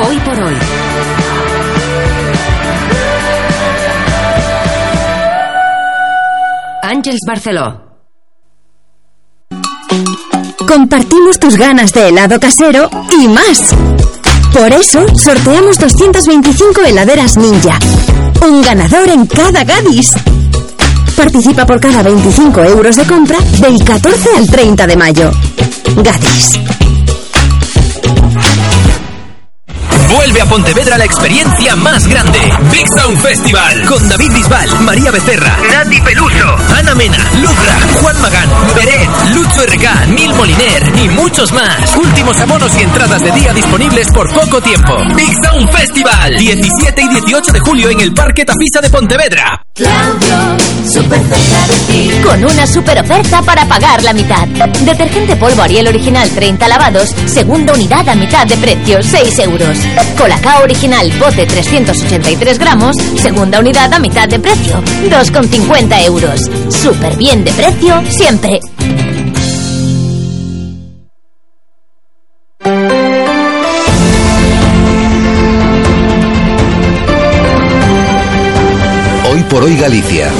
Hoy por hoy. Àngels Barceló. Compartimos tus ganas de helado casero y más. Por eso, sorteamos 225 heladeras Ninja. Un ganador en cada Gadis. Participa por cada 25 euros de compra del 14 al 30 de mayo. Gadis. Vuelve a Pontevedra la experiencia más grande. Big Sound Festival. Con David Bisbal, María Becerra, Nati Peluso, Ana Mena, Lucra, Juan Magán, Beret, Lucho RK, Nil Moliner y muchos más. Últimos abonos y entradas de día disponibles por poco tiempo. Big Sound Festival. 17 y 18 de julio en el Parque Tafisa de Pontevedra. Claudio, super cerca de ti. Con una super oferta para pagar la mitad. Detergente polvo Ariel original 30 lavados, segunda unidad a mitad de precio, 6 euros. Colacao original bote 383 gramos, segunda unidad a mitad de precio, 2,50 euros. Súper bien de precio siempre. Hoy por hoy Galicia.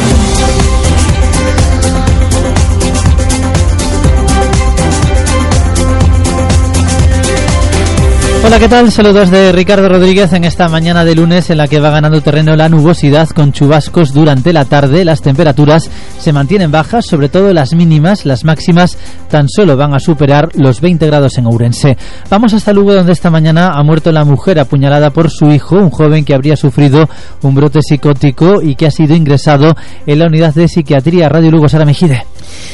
Hola, ¿qué tal? Saludos de Ricardo Rodríguez en esta mañana de lunes en la que va ganando terreno la nubosidad con chubascos durante la tarde. Las temperaturas se mantienen bajas, sobre todo las mínimas. Las máximas tan solo van a superar los 20 grados en Ourense. Vamos hasta Lugo, donde esta mañana ha muerto la mujer apuñalada por su hijo, un joven que habría sufrido un brote psicótico y que ha sido ingresado en la unidad de psiquiatría. Radio Lugo, Sara Mejide.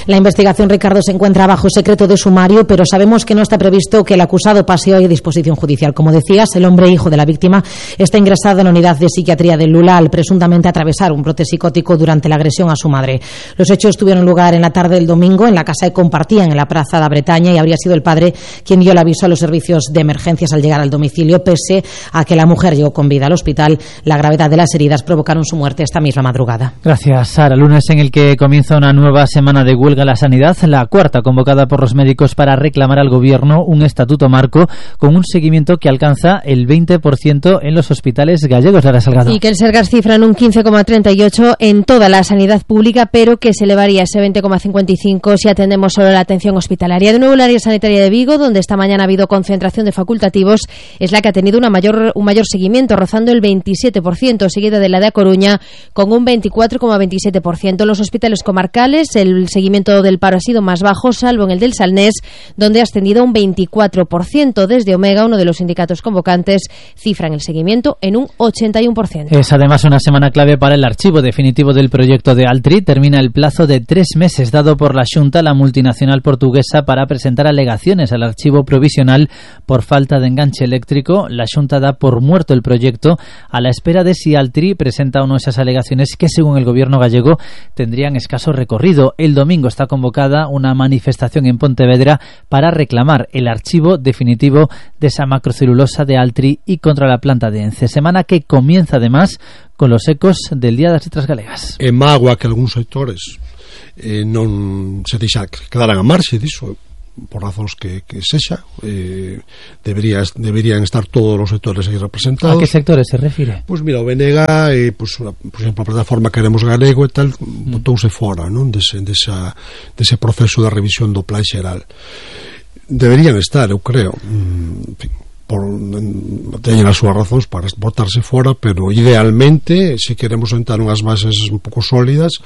La investigación, Ricardo, se encuentra bajo secreto de sumario, pero sabemos que no está previsto que el acusado pase hoy a disposición judicial. Como decías, el hombre hijo de la víctima está ingresado en la unidad de psiquiatría de Lula al presuntamente atravesar un brote psicótico durante la agresión a su madre. Los hechos tuvieron lugar en la tarde del domingo en la casa que compartían en la Plaza de Bretaña y habría sido el padre quien dio el aviso a los servicios de emergencias al llegar al domicilio, pese a que la mujer llegó con vida al hospital. La gravedad de las heridas provocaron su muerte esta misma madrugada. Gracias, Sara. Lunes en el que comienza una nueva semana de huelga en la sanidad, la cuarta convocada por los médicos para reclamar al gobierno un estatuto marco con un seguimiento que alcanza el 20% en los hospitales gallegos. Lara Salgado. Y que el Sergas cifra en un 15,38 en toda la sanidad pública, pero que se elevaría ese 20,55 si atendemos solo la atención hospitalaria. De nuevo, el área sanitaria de Vigo, donde esta mañana ha habido concentración de facultativos, es la que ha tenido un mayor seguimiento, rozando el 27%, seguida de la de A Coruña con un 24,27%. En los hospitales comarcales, el seguimiento del paro ha sido más bajo, salvo en el del Salnés, donde ha ascendido un 24%. Desde Omega, uno de los sindicatos convocantes, cifran el seguimiento en un 81%. Es además una semana clave para el archivo definitivo del proyecto de Altri. Termina el plazo de 3 meses dado por la Xunta a la multinacional portuguesa para presentar alegaciones al archivo provisional por falta de enganche eléctrico. La Xunta da por muerto el proyecto a la espera de si Altri presenta o no esas alegaciones que, según el gobierno gallego, tendrían escaso recorrido. El domingo está convocada una manifestación en Pontevedra para reclamar el archivo definitivo de esa macrocelulosa de Altri y contra la planta de Ence. Semana que comienza además con los ecos del Día das Letras Galegas. É mágoa que algúns sectores non se deixa quedaran a marxe disso, por razóns que sexa. Deberían estar todos os sectores aí representados. ¿A qué sectores se refire? Pois mira, o BNG, por exemplo, a plataforma Queremos Galego e tal, botouse fora, non, dese proceso de revisión do Plan Xeral. Deberían estar, eu creo, en fin, teñen as súas razóns para botarse fora, pero idealmente, se queremos sentar unhas bases un pouco sólidas,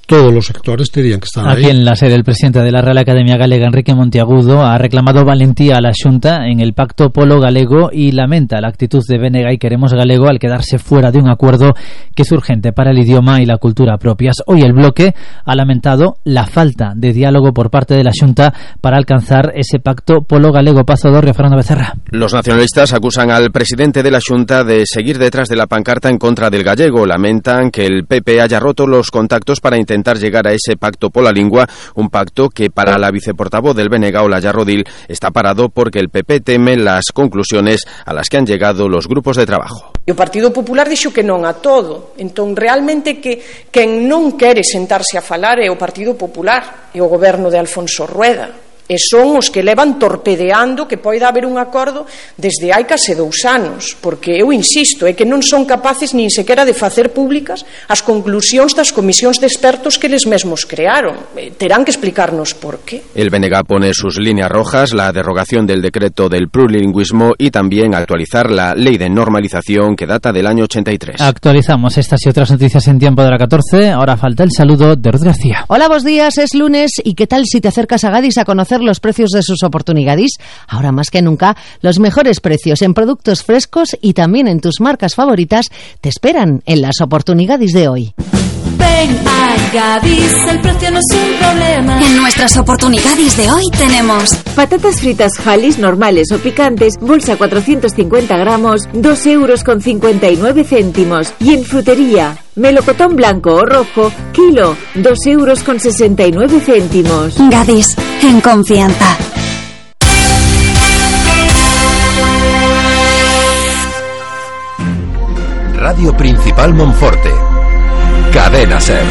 todos los sectores tenían que estar ahí. Aquí en la sede, el presidente de la Real Academia Galega, Enrique Monteagudo, ha reclamado valentía a la Xunta en el Pacto Polo Galego y lamenta la actitud de BNG y Queremos Galego al quedarse fuera de un acuerdo que es urgente para el idioma y la cultura propias. Hoy el bloque ha lamentado la falta de diálogo por parte de la Xunta para alcanzar ese Pacto Polo Galego. Pazo Dorrio, Fernando Becerra. Los nacionalistas acusan al presidente de la Xunta de seguir detrás de la pancarta en contra del gallego. Lamentan que el PP haya roto los contactos para intentar llegar a ese pacto por la lengua, un pacto que para la viceportavoz del BNG, Olaya Rodil, está parado porque el PP teme las conclusiones a las que han llegado los grupos de trabajo. O Partido Popular dixo que non a todo, entón realmente que quen non quere sentarse a falar é o Partido Popular e o goberno de Alfonso Rueda. e son os que levan torpedeando que poida haber un acordo desde hai case 2 anos, porque eu insisto, é que non son capaces nin sequera de facer públicas as conclusións das comisións de expertos que eles mesmos crearon. Terán que explicarnos por qué. El BNG pone sus líneas rojas, la derogación del decreto del plurilingüismo y también actualizar la ley de normalización que data del año 83. Actualizamos estas y otras noticias en tiempo de la 14. Ahora falta el saludo de Ruth García. Hola, buenos días, es lunes y ¿qué tal si te acercas a Gadis a conocer los precios de sus oportunidades? Ahora más que nunca, los mejores precios en productos frescos y también en tus marcas favoritas te esperan en las oportunidades de hoy. Ven a Gadis, el precio no es un problema. En nuestras oportunidades de hoy tenemos patatas fritas Halis normales o picantes, bolsa 450 gramos, 2,59 €. Y en frutería, melocotón blanco o rojo, kilo, 2,69 €. Gadis, en confianza. Radio Principal Monforte. Cadena SER.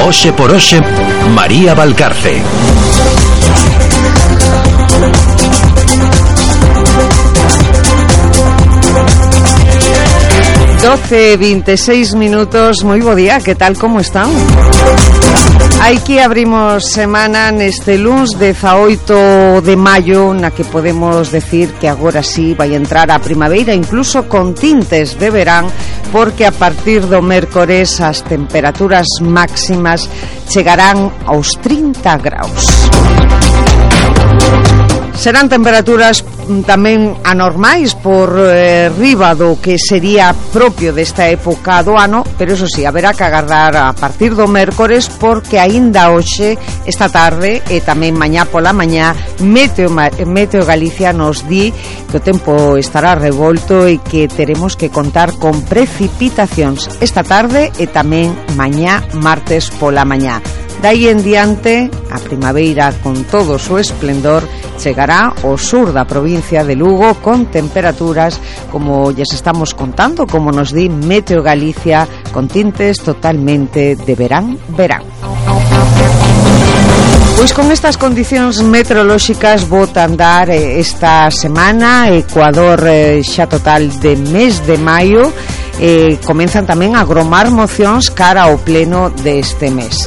Oxe por Oxe, María Valcarce. ...12:26 minutos, moi bo día, que tal, como están? Aquí abrimos semana neste luns 18 de maio, na que podemos decir que agora sí vai entrar a primavera, incluso con tintes de verán, porque a partir do mércores as temperaturas máximas chegarán aos 30 graus. Serán temperaturas tamén anormais por riba do que sería propio desta época do ano, pero eso sí, haberá que agardar a partir do mércores, porque aínda hoxe, esta tarde e tamén mañá pola mañá, Meteo Galicia nos di que o tempo estará revolto e que teremos que contar con precipitacións esta tarde e tamén mañá martes pola mañá. Dai en diante, a primavera con todo o seu esplendor chegará ao sur da provincia de Lugo con temperaturas, como lles estamos contando, como nos di Meteo Galicia, con tintes totalmente de verán. Pois con estas condicións meteorolóxicas bota andar esta semana Ecuador xa total de mes de maio. Comenzan tamén a agromar mocións cara ao pleno deste mes.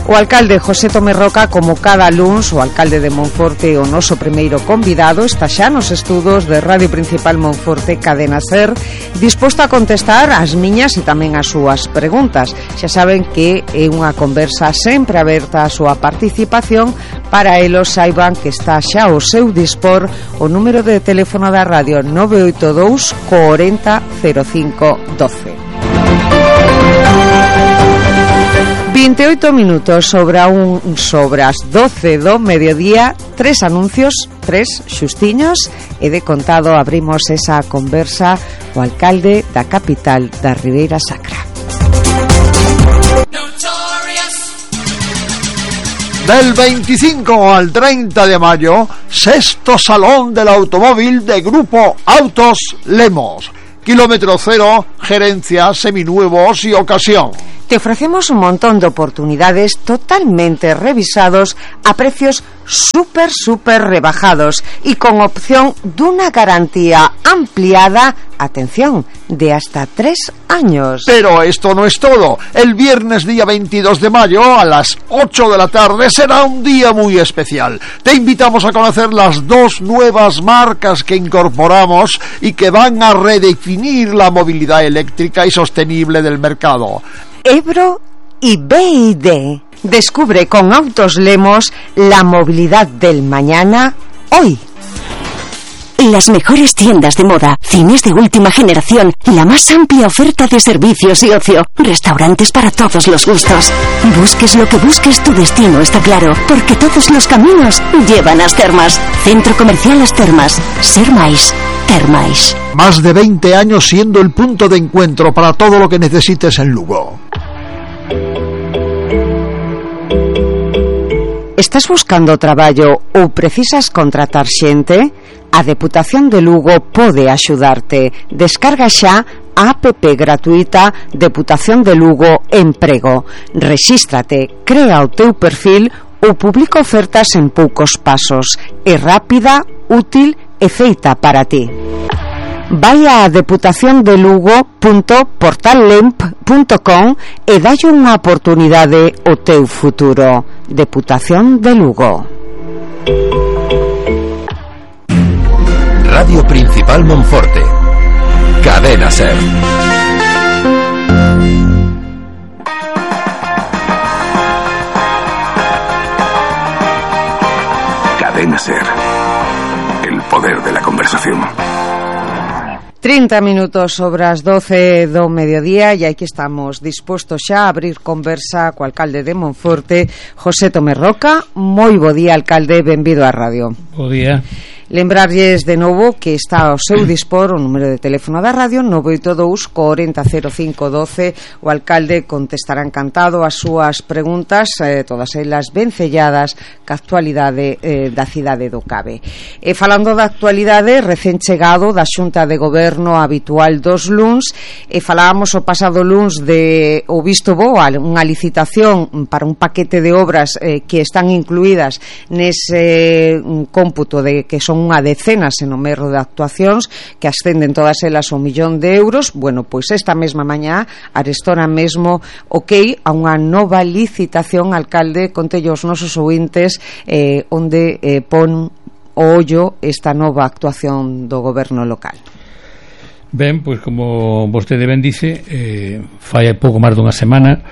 O alcalde José Tomé Roca, como cada luns, o alcalde de Monforte, o noso primeiro convidado, está xa nos estudos de Radio Principal Monforte, Cadena SER, disposto a contestar as miñas e tamén as súas preguntas. Xa saben que é unha conversa sempre aberta a súa participación. Para elos saiban que está xa ao seu dispor o número de teléfono da radio 982 40 05 12. 28 minutos sobre as 12 do mediodía, 3 anuncios, 3 xustiños, e de contado abrimos esa conversa o alcalde da capital da Ribeira Sacra. Del 25 al 30 de mayo, sexto Salón del Automóvil de Grupo Autos Lemos. Kilómetro cero, gerencia, seminuevos y ocasión. Te ofrecemos un montón de oportunidades totalmente revisados a precios súper rebajados y con opción de una garantía ampliada, atención, de hasta 3 años. Pero esto no es todo. El viernes día 22 de mayo a las 8 de la tarde será un día muy especial. Te invitamos a conocer las 2 nuevas marcas que incorporamos y que van a redefinir la movilidad eléctrica y sostenible del mercado. Ebro y BYD. Descubre con Autos Lemos la movilidad del mañana hoy. Las mejores tiendas de moda, cines de última generación, la más amplia oferta de servicios y ocio, restaurantes para todos los gustos. Busques lo que busques, tu destino está claro, porque todos los caminos llevan a As Termas. Centro Comercial As Termas. Ser máis, ter máis. Más de 20 años siendo el punto de encuentro para todo lo que necesites en Lugo. Estás buscando traballo ou precisas contratar xente? A Deputación de Lugo pode axudarte. Descarga xa a app gratuita Deputación de Lugo Emprego. Rexístrate, crea o teu perfil ou publica ofertas en poucos pasos. É rápida, útil e feita para ti. Vai a deputaciondelugo.portallemp.com e dalle unha oportunidade ao teu futuro. Deputación de Lugo. Radio Principal Monforte. Cadena SER. Cadena SER. El poder de la conversación. 30 minutos sobre as 12 do mediodía e aquí estamos dispostos xa a abrir conversa co alcalde de Monforte, José Tomé Roca. Moi bo día, alcalde, benvido á radio. Bo día. Lembrarlles de novo que está ao seu dispor o número de teléfono da radio 982 40 05 12. O alcalde contestará encantado as súas preguntas, todas elas vencelladas ca actualidade da cidade do Cabe. E falando da actualidade, recén chegado da Xunta de Goberno habitual dos luns, e falábamos o pasado luns de o visto bo, unha licitación para un paquete de obras que están incluídas nese cómputo de que son unha decena sen o merro de actuacións que ascenden todas elas ao 1.000.000 de euros. Bueno, pois esta mesma mañá arestora mesmo ok a unha nova licitación, alcalde, contelle aos nosos ouvintes onde pon o ollo esta nova actuación do goberno local. Ben, pois como vostede ben dice, fai pouco máis dunha semana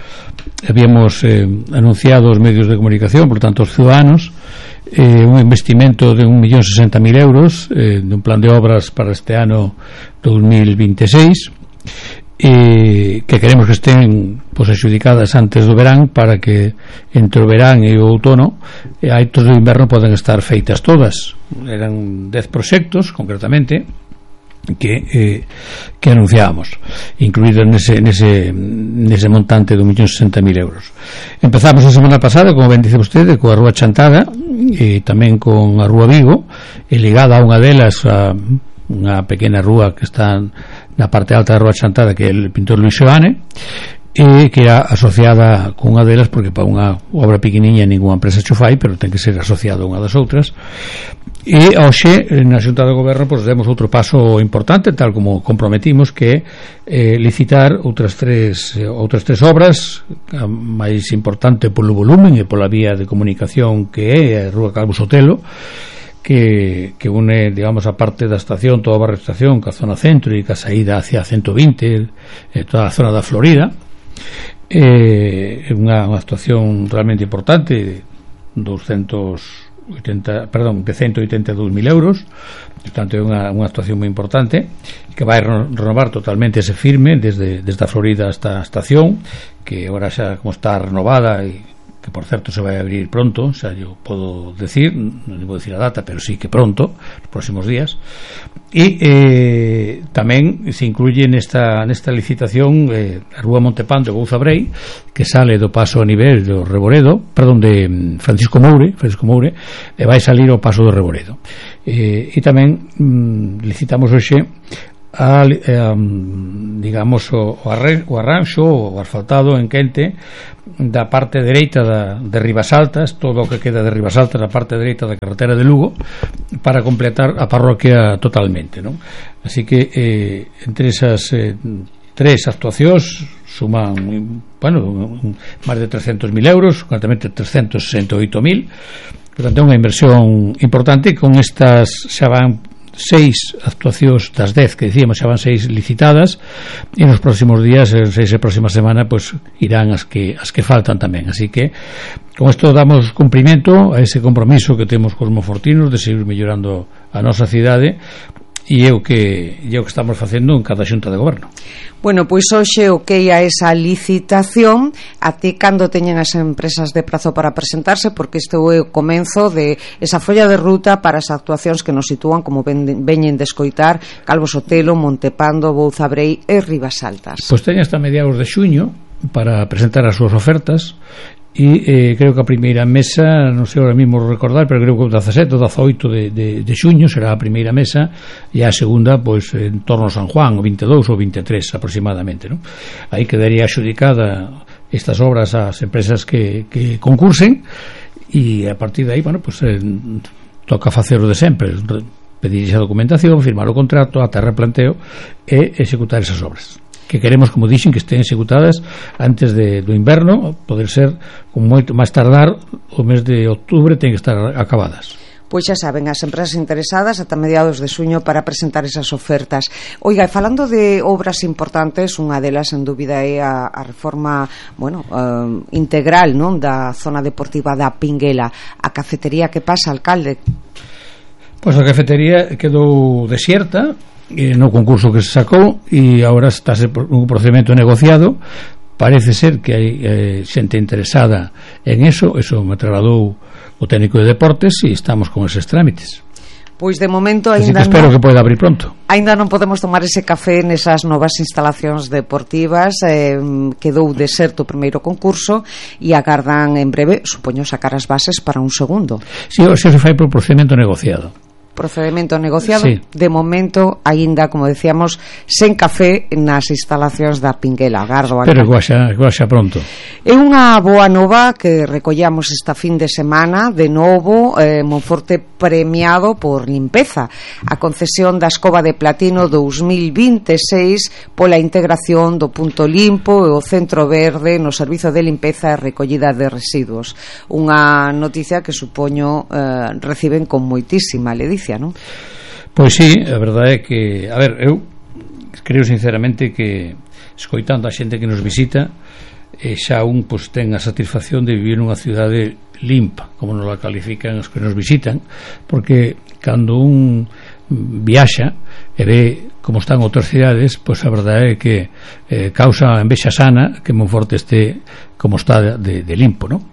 habíamos anunciado os medios de comunicación, por tanto os ciudadanos, un investimento de 1.060.000 euros de un plan de obras para este ano 2026 que queremos que estén adxudicadas antes do verán para que entre o verán e o outono e a aitos do inverno poden estar feitas todas. Eran 10 proxectos concretamente que anunciábamos, incluídos nese montante de 1.060.000 euros. Empezamos a semana pasada, como ben dice vostede, coa Rúa Chantada e tamén con a Rúa Vigo, e ligada a unha delas a unha pequena rúa que está na parte alta da Rúa Chantada, que é o pintor Luis Seoane, e que era asociada con unha delas porque para unha obra pequeniña ninguna empresa xo fai, pero ten que ser asociada a unha das outras. E hoxe na Xunta de Goberno pois demos outro paso importante, tal como comprometimos, que licitar outras tres obras, a máis importante polo volumen e pola vía de comunicación que é a Rúa Calvo Sotelo, que une, digamos, a parte da estación, toda a barra estación, ca zona centro e ca saída hacia 120, toda a zona da Florida. É unha actuación realmente importante, de 182.000 euros, portanto é unha actuación moi importante que vai renovar totalmente ese firme desde a Florida hasta a estación, que agora xa como está renovada e que por certo se vai abrir pronto, xa yo podo decir, non vou decir a data, pero sí que pronto, nos próximos días. E tamén se incluye nesta licitación a Rúa Montepán de Bouzabrei, que sale do paso a nivel do Reboredo, perdón, de Francisco Moure, e vai salir ao paso do Reboredo. E tamén licitamos hoxe digamos o arranxo, o asfaltado en quente da parte dereita de Ribasaltas, todo o que queda de Ribasaltas na parte dereita da carretera de Lugo, para completar a parroquia totalmente, non? Así que entre esas tres actuacións suman, bueno, máis de 300.000 euros, concretamente 368.000. Portanto, é unha inversión importante. Con estas xa van 6 actuacións das 10 que dicíamos, xa van 6 licitadas, e nos próximos días, en 6 e próxima semana, pues irán as que faltan tamén. Así que con isto damos cumprimento a ese compromiso que temos cos monfortinos de seguir mellorando a nosa cidade, e é o que estamos facendo en cada xunta de goberno. Bueno, pois hoxe o que a esa licitación, até cando teñen as empresas de prazo para presentarse, porque este é o comenzo de esa folla de ruta para as actuacións que nos sitúan, como veñen de escoitar, Calvo Sotelo, Montepando, Bouzabrei e Ribasaltas. Pois teñen hasta mediados de xuño para presentar as súas ofertas, e creo que a primeira mesa, non sei ahora mismo recordar, pero creo que o 17 ou 18 de xuño será a primeira mesa, e a segunda pois en torno a San Juan, o 22 ou 23 aproximadamente, non? Aí quedaría axudicada estas obras ás empresas que concursen, e a partir de aí, bueno, pois toca facer o de sempre, pedir esa documentación, firmar o contrato, ata replanteo e executar esas obras, que queremos, como dixen, que estén executadas antes do inverno, poder ser con moito máis tardar o mes de outubro ten que estar acabadas. Pois xa saben, as empresas interesadas ata mediados de xuño para presentar esas ofertas. Oiga, falando de obras importantes, unha delas en dúbida é a reforma, bueno, integral, non, da zona deportiva da Pinguela. A cafetería, que pasa, alcalde? Pois a cafetería quedou desierta no concurso que se sacou, e agora está un procedimento negociado. Parece ser que hai xente interesada en eso me trasladou o técnico de deportes, e estamos con eses trámites. Pois de momento ainda espero que poida abrir pronto. Ainda non podemos tomar ese café nesas novas instalacións deportivas. Quedou deserto o primeiro concurso e agardan en breve, supoño, sacar as bases para un segundo. Si, se fai por procedimento negociado. Procedimento negociado, sí. De momento aínda, como decíamos, sen café nas instalacións da Pinguela. Gardo, pero guaxa pronto. É unha boa nova que recollamos esta fin de semana. De novo, Monforte premiado por limpeza. A concesión da Escova de Platino 2026 pola integración do punto limpo e o centro verde no servizo de limpeza e recollida de residuos. Unha noticia que supoño reciben con moitísima ledicia. ¿No? Pois sí, a verdade é que, a ver, eu creo sinceramente que escoitando a xente que nos visita, xa un pois ten a satisfacción de vivir nunha cidade limpa, como nos la califican os que nos visitan, porque cando un viaxa e ve como están outras cidades, pois a verdade é que causa envexa sana que Monforte este como está de limpo, ¿no?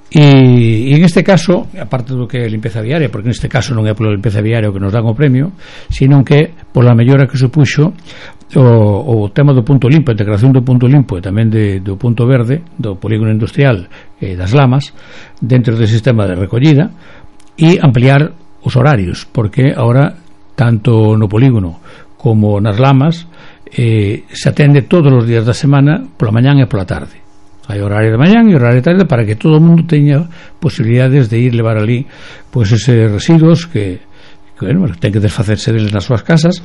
E en este caso, aparte do que é limpeza viaria, porque neste caso non é pola limpeza viaria o que nos dan o premio, sino que pola mellora que supuxo o tema do punto limpo, a integración do punto limpo e tamén do punto verde, do polígono industrial e das lamas dentro do sistema de recollida, e ampliar os horarios, porque agora tanto no polígono como nas lamas se atende todos os días da semana pola mañán e pola tarde. Hai horario de mañán e horario de tarde para que todo o mundo teña posibilidades de ir levar ali pois eses residuos que bueno, ten que desfacerse deles nas súas casas,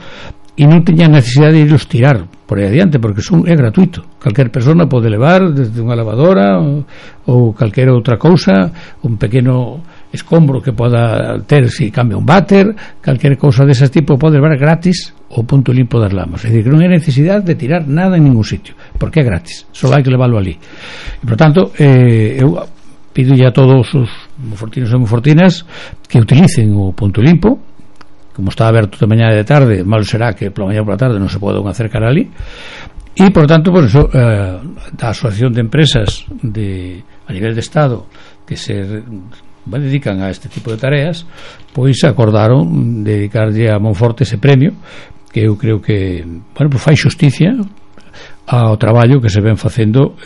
e non teña necesidade de irlos tirar por aí adiante, porque é gratuito. Calquer persona pode levar desde unha lavadora ou calquera outra cousa, un pequeno escombro que poda ter se cambia un váter, calquer cousa dese tipo pode levar gratis o punto limpo das lamas. É dicir, que non hai necesidade de tirar nada en ningún sitio, porque é gratis, só hai que leválo ali. E, por tanto, eu pido a todos os monfortinos e monfortinas que utilicen o punto limpo. Como está aberto de mañá e de tarde, malo será que pola mañá e pola tarde non se poden acercar ali. E, por tanto, por eso, da Asociación de Empresas a nivel de Estado que se dedican a este tipo de tareas, pois acordaron dedicarlle a Monforte ese premio, que eu creo que, bueno, pues fai xusticia ao traballo que se ven facendo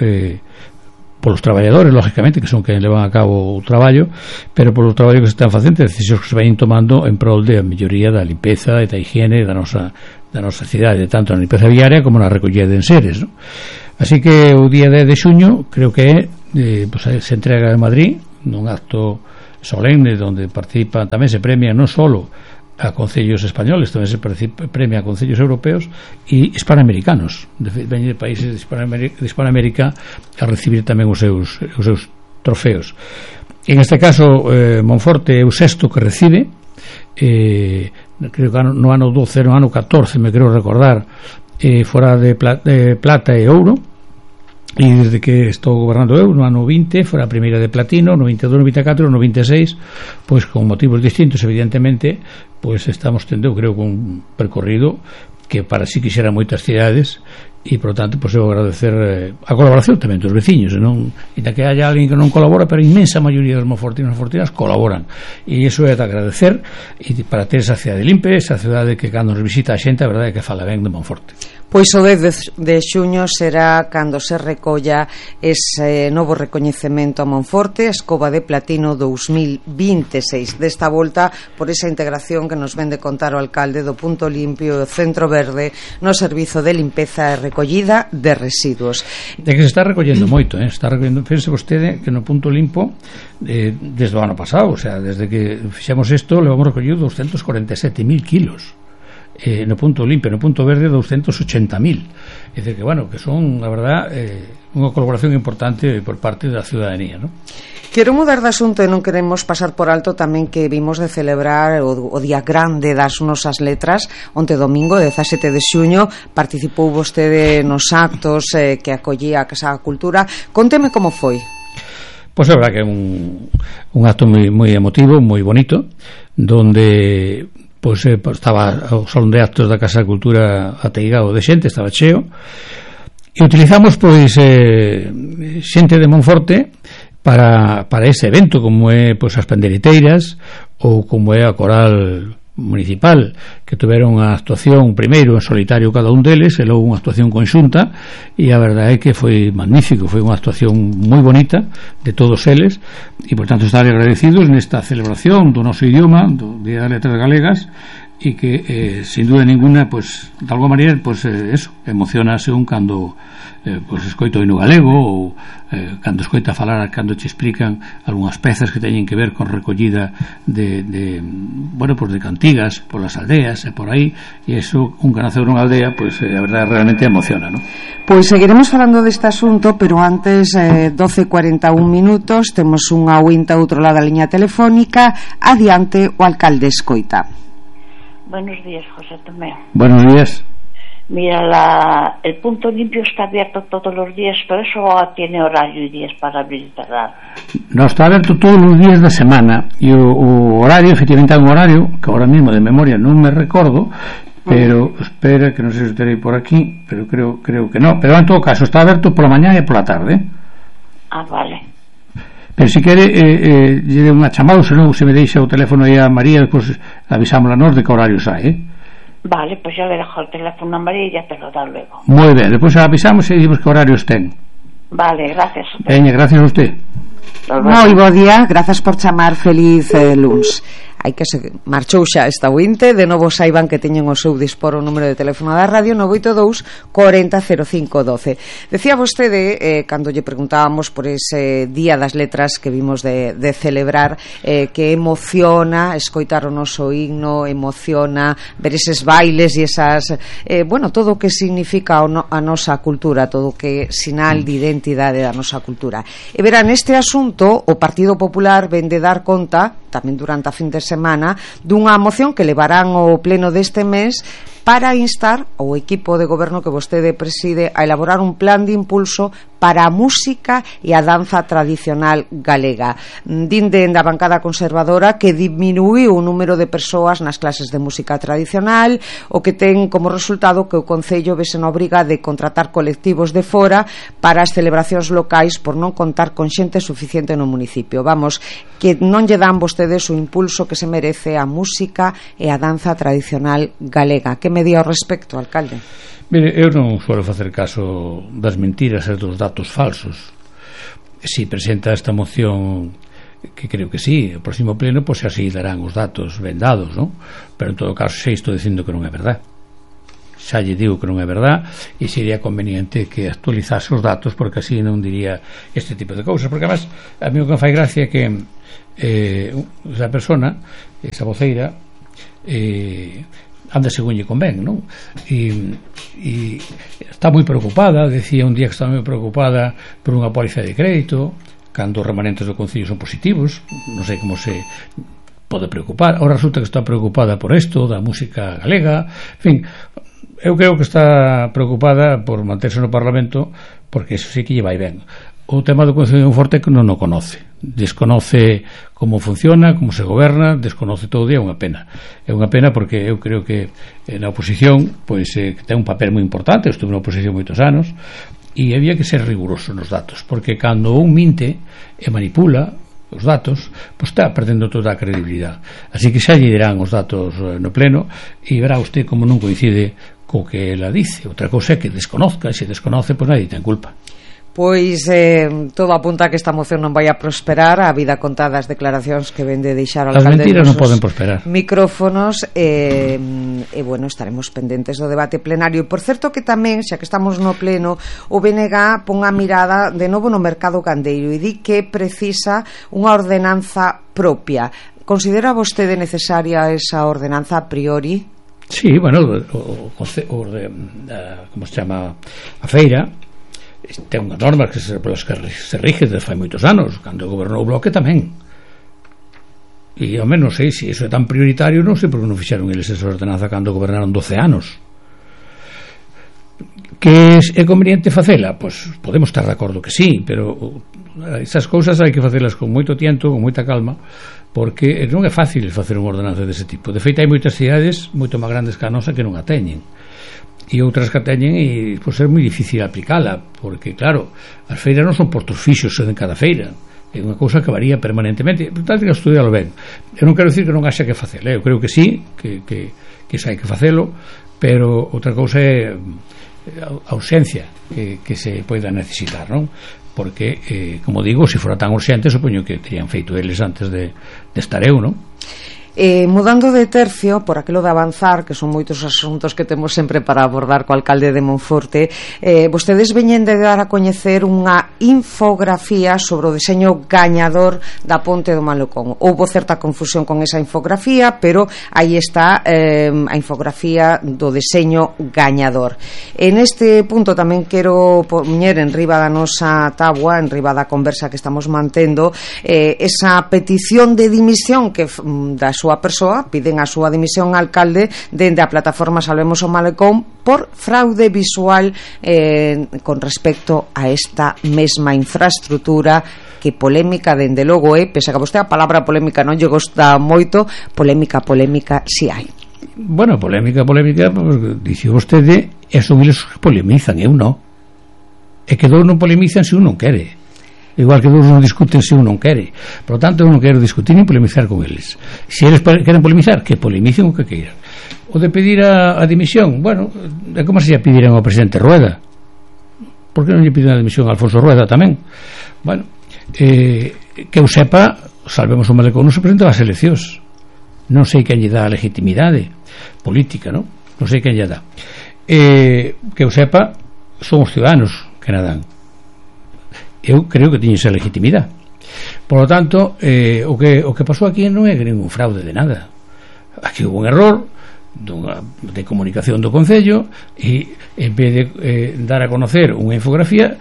polos traballadores, lógicamente, que son quen levan a cabo o traballo, pero polo traballo que se están facendo, decisións que se vayan tomando en prol de a melloría da limpeza e da higiene da nosa cidade, tanto na limpeza viaria como na recollida de enseres, ¿no? Así que o día 10 de xuño creo que pues, se entrega en Madrid nun acto solemne onde participan, tamén se premia non só a concellos españoles, tamén se premia a concellos europeos e hispanoamericanos, veñen de países de Hispanoamérica a recibir tamén os seus trofeos. En este caso Monforte é o sexto que recibe, creo que no ano 12, no ano 14 me creo recordar, fora de plata e ouro, e desde que estou gobernando eu no ano 20 fora a primeira de platino, no 22, no 24, no 26, pois con motivos distintos evidentemente, pois estamos tendo, creo, un percorrido que para si quixeran moitas cidades e por tanto pois eu agradecer a colaboración tamén dos veciños, e da que haya alguén que non colabora, pero a inmensa maioría dos monfortinos e monfortinas colaboran, e iso é de agradecer, e para ter esa cidade limpe, esa cidade que cando nos visita a xente a verdade é que fala ben de Monforte. Pois o 10 de xuño será cando se recolla ese novo recoñecemento a Monforte, Escoba de Platino 2026. Desta volta, por esa integración que nos ven de contar o alcalde do Punto Limpio e o Centro Verde no servizo de limpeza e recollida de residuos. De que se está recollendo moito, está recollendo, pense vostede que no Punto Limpo desde o ano pasado, o sea, desde que fixemos isto, levamos recollido 247.000 kilos. No Punto Limpio, no Punto Verde 280.000. É dicir que, bueno, que son, a verdad, unha colaboración importante por parte da ciudadanía, non? Quero mudar de asunto e non queremos pasar por alto tamén que vimos de celebrar o Día Grande das Nosas Letras onte domingo, 17 de xuño. Participou vostede nos actos que acollía a Casa da Cultura. Conteme como foi. Pois é verdad que é un acto moi emotivo, moi bonito, donde pois estaba o salón de actos da Casa da Cultura ateigado de xente, estaba cheo, e utilizamos pois xente de Monforte para ese evento, como é pois as panderiteiras ou como é a coral municipal, que tuveron unha actuación primeiro en solitario cada un deles e logo unha actuación conxunta, e a verdade é que foi magnífico, foi unha actuación moi bonita de todos eles, e por tanto estar agradecidos nesta celebración do noso idioma, do Día das Letras Galegas, e que sin duda ninguna, pues de alguma maneira, pues eso, emocionase un cando pues escoito o hino galego, ou cando escoita falar, cando che explican algunhas pezas que teñen que ver con recollida de bueno, pues de cantigas polas aldeas e por aí, e eso, un que nace nunha aldea, pues a verdade realmente emociona, ¿no? Pois seguiremos falando deste asunto, pero antes 12:41 minutos, temos unha oínta outro lado da liña telefónica. Adiante, o alcalde escoita. Buenos días, José Tomeo. Buenos días. Mira, el Punto Limpio está abierto todos los días, pero eso tiene horario y días para abrir y cerrar. No, está abierto todos los días da semana, e o horario, efectivamente, é un horario que ahora mismo de memoria non me recordo, pero espera, que non sei se terei por aquí, pero creo que no, pero en todo caso está abierto pola mañá e pola tarde. Ah, vale. Pero se quere lle unha chamada, senón se me deixa o teléfono aí a María, despois avisámosla nós de que horario sai, Vale, pues yo le dejo el teléfono a María y ya te lo da luego. Moi ben, despois avisamos e dicimos que horarios ten. Vale, gracias. Gracias a usted. Moi bo día, grazas por chamar, feliz luns. Hai que se marchou xa esta ointe. De novo saiban que teñen o seu dispor o número de teléfono da radio 982 40 05 12. Decía vostede, cando lle preguntábamos por ese Día das Letras que vimos de celebrar, que emociona escoitar o noso himno, emociona ver eses bailes e esas bueno, todo o que significa a nosa cultura, todo o que sinal de identidade da nosa cultura. E verán, este asunto o Partido Popular ven de dar conta tamén durante a fin de semana dunha moción que levarán ao pleno deste mes para instar ao equipo de goberno que vostede preside a elaborar un plan de impulso para a música e a danza tradicional galega. Din da bancada conservadora que diminuiu o número de persoas nas clases de música tradicional, o que ten como resultado que o Concello vese na obriga de contratar colectivos de fora para as celebracións locais por non contar con xente suficiente no municipio. Vamos, que non lle dan vostedes o impulso que se merece a música e a danza tradicional galega. Que me di ao respecto, alcalde? Mire, eu non suelo facer caso das mentiras e dos datos falsos. Si presenta esta moción, que creo que sí, o próximo pleno, pois así darán os datos ben dados, non? Pero en todo caso xa estou dicindo que non é verdad. Xa lle digo que non é verdad, e sería conveniente que actualizase os datos, porque así non diría este tipo de cousas. Porque además, a mí o que me fai gracia é que esa persona, esa voceira, anda según lle convén, non? E está moi preocupada, decía un día que está moi preocupada por unha póliza de crédito, cando os remanentes do Concello son positivos. Non sei como se pode preocupar. Ahora resulta que está preocupada por isto da música galega. En fin, eu creo que está preocupada por manterse no Parlamento, porque eso sí que lle vai ben. O tema do Concello de Monforte que non o conoce, desconoce como funciona, como se goberna, desconoce todo, e é unha pena porque eu creo que na oposición pois ten un papel moi importante. Eu estuve na oposición moitos anos e había que ser riguroso nos datos, porque cando un minte e manipula os datos, pois está perdendo toda a credibilidade. Así que xa lle dirán os datos no pleno e verá usted como non coincide co que ela dice. Outra cousa é que desconozca, e se desconoce, pois nadie ten culpa. Pois todo apunta a que esta moción non vai a prosperar, a vida contada as declaracións que ven de deixar ao alcalde. As mentiras non poden prosperar. Micrófonos e bueno, estaremos pendentes do debate plenario. E por certo que tamén, xa que estamos no pleno, o BNG pon a mirada de novo no mercado gandeiro e di que precisa unha ordenanza propia. Considera vostede necesaria esa ordenanza a priori? Sí, bueno, como se chama a feira ten unhas normas polas que se rige desde fai moitos anos, cando gobernou o Bloque tamén, e ao menos sei se iso é tan prioritario, non sei por que non fixeron eles esa ordenanza cando gobernaron 12 anos. Que é conveniente facela? Pois podemos estar de acordo que sí, pero esas cousas hai que facelas con moito tiento, con moita calma, porque non é fácil facer unha ordenanza dese tipo. De feito, hai moitas cidades moito máis grandes que a nosa que non a teñen, e outras que a teñen, e pois é moi difícil aplicala, porque claro, as feiras non son postos fixos en cada feira, é unha cousa que varía permanentemente. Por tanto, que estudialo ben. Eu non quero dicir que non haxa que facelo, eu creo que sí, que xa hai que facelo, pero outra cousa é a urxencia que se poida necesitar, non? Porque, como digo, se fora tan urxente, supoño que terían feito eles antes de estar eu, non? Mudando de tercio, por aquilo de avanzar, que son moitos asuntos que temos sempre para abordar co alcalde de Monforte, vostedes veñen de dar a coñecer unha infografía sobre o deseño gañador da Ponte do Malecón. Houbo certa confusión con esa infografía, pero aí está a infografía do deseño gañador. En este punto tamén quero poñer en riba da nosa táboa, en riba da conversa que estamos mantendo, esa petición de dimisión que da súa persoa, piden a súa dimisión ao alcalde dende a plataforma Salvemos o Malecón por fraude visual con respecto a esta mesma infraestructura, que polémica dende logo é, pese a que vostede a palabra polémica non lle gosta moito, polémica si hai. Bueno, polémica, dixe vostede, son eles que polemizan, eu non. É que dous non polemizan se un non quere. Igual que dous non discuten se un non quere. Por lo tanto, eu non quero discutir ni polemizar con eles. Se eles queren polemizar, que polemicen o que queiran. O de pedir a dimisión, bueno, é como se lle pediran ao presidente Rueda. Por que non lle piden a dimisión a Alfonso Rueda tamén? Bueno, que eu sepa, Salvemos o Malecón non se presenta ás eleccións. Non sei quen lle dá a legitimidade política, non sei quen lle dá. Que eu sepa, son os ciudadanos que na dan. Eu creo que tiñe esa legitimidade. Por lo tanto, o que pasou aquí non é ningún fraude de nada. Aquí hubo un error de comunicación do Concello, e en vez de dar a conocer unha infografía,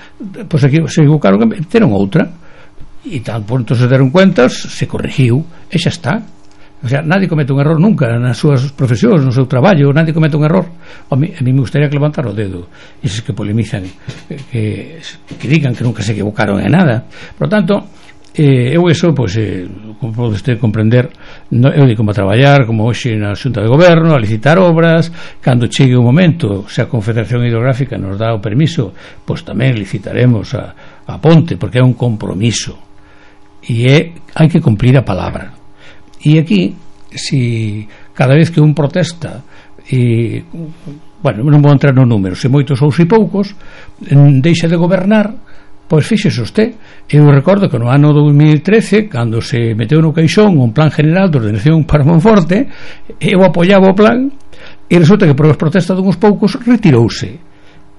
pois aquí se equivocaron, meteron outra, e tan pronto se deron cuentas, se corrigiu e xa está. O sea, nadie comete un error nunca nas súas profesións, no seu traballo, nadie comete un error. A mí me gustaría que levantar o dedo eses que polemizan, que digan que nunca se equivocaron en nada. Por lo tanto, eu eso, pois, como pode usted comprender, eu digo como a traballar, como hoxe na Xunta de Goberno, a licitar obras, cando chegue o momento, se a Confederación Hidrográfica nos dá o permiso, pois tamén licitaremos a ponte, porque é un compromiso, e hai que cumprir a palabra. E aquí, si cada vez que un protesta, bueno, non vou entrar no número, se moitos ou se poucos, deixa de gobernar, pois fíxese usted. Eu recordo que no ano 2013, cando se meteu no caixón un plan general de ordenación para Monforte, eu apoiaba o plan, e resulta que por as protestas dunhos poucos retirouse,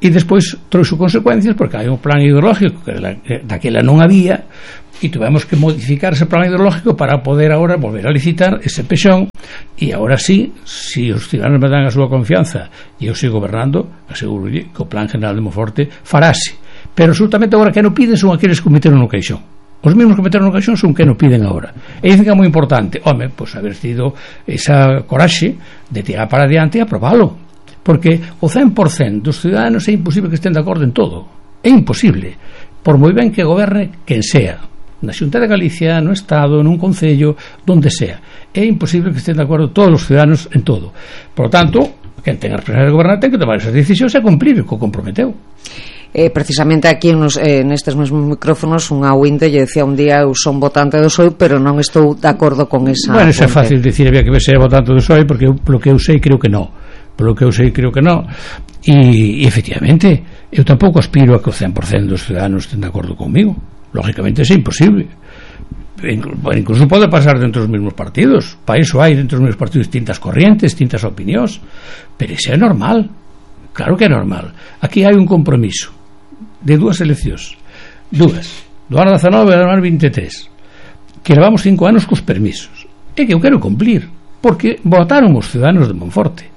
e despois trouxe consecuencias, porque hai un plan hidrológico que daquela non había, e tuvemos que modificar ese plan hidrológico para poder agora volver a licitar ese pexón, e agora sí, se os ciudadanos me dan a súa confianza e eu sigo gobernando, aseguro que o plan general de Monforte farase. Pero absolutamente agora que non piden son aqueles que meteron no caixón. Os mesmos que meteron no caixón son que non piden agora. E dicen que é moi importante, home, pois haber tido esa coraxe de tirar para adiante e aprobalo, porque o 100% dos ciudadanos é imposible que estén de acordo en todo, é imposible, por moi ben que goberne quen sea, na Xunta de Galicia, no Estado, nun concello, donde sea. É imposible que estén de acordo todos os ciudadanos en todo. Por lo tanto, quen ten a responsabilidade de gobernar ten que tomar esas decisións e cumplir o que comprometeu. Precisamente aquí nestes mesmos micrófonos unha ointe lle decía un día: eu son votante do PSOE, pero non estou de acordo con esa. Bueno, eso é fácil decir, había que ver se é votante do PSOE, porque polo que eu sei creo que non. E efectivamente eu tampouco aspiro a que o 100% dos ciudadanos estén de acordo comigo. Lógicamente é imposible. Incluso pode pasar dentro dos mesmos partidos. Para iso hai dentro dos mesmos partidos distintas corrientes, distintas opinións, pero iso é normal. Claro que é normal. Aquí hai un compromiso de dúas eleccións, do ano 19 e do ano 23, que levamos 5 anos cos permisos, e que eu quero cumplir, porque votaron os ciudadanos de Monforte,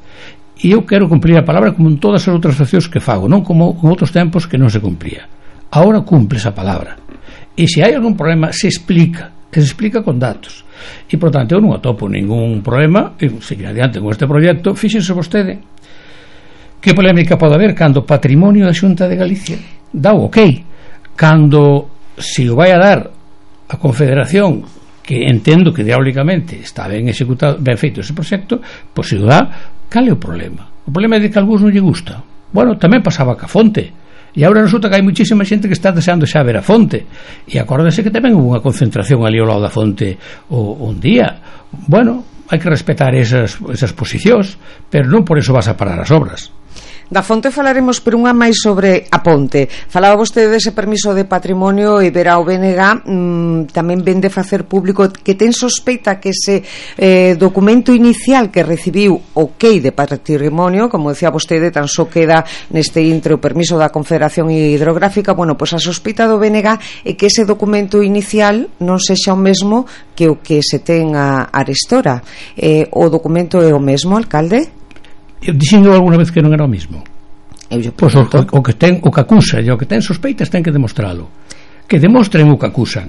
e eu quero cumplir a palabra como en todas as outras accións que fago, non como en outros tempos que non se cumpría. Ahora cumple esa palabra, e se hai algún problema se explica con datos, e por tanto eu non atopo ningún problema en seguir adiante con este proxecto. Fíxense vostede que polémica pode haber cando o patrimonio da Xunta de Galicia dá o ok, cando se o vai a dar a Confederación, que entendo que diabólicamente está ben executado, ben feito ese proxecto, pois se o dá, cal é o problema? O problema é de que a algúns non lle gusta. Bueno, tamén pasaba ca fonte, e agora resulta que hai muchísima xente que está deseando xa ver a fonte, e acórdase que tamén hubo unha concentración ali ao lado da fonte un día. Bueno, hai que respetar esas posicións, pero non por eso vas a parar as obras. Da fonte falaremos, pero unha máis sobre a ponte. Falaba vostede dese permiso de patrimonio e verá o BNG tamén ven de facer público que ten sospeita que ese documento inicial que recibiu ok de patrimonio, como decía vostede, tan só queda neste intre o permiso da Confederación Hidrográfica. Bueno, pois a sospeita do BNG é que ese documento inicial non sexa o mesmo que o que se ten a arestora. O documento é o mesmo, alcalde? Eu dixendo alguna vez que non era o mismo. Pois o que acusa e o que ten sospeitas ten que demostralo, que demostren o que acusan.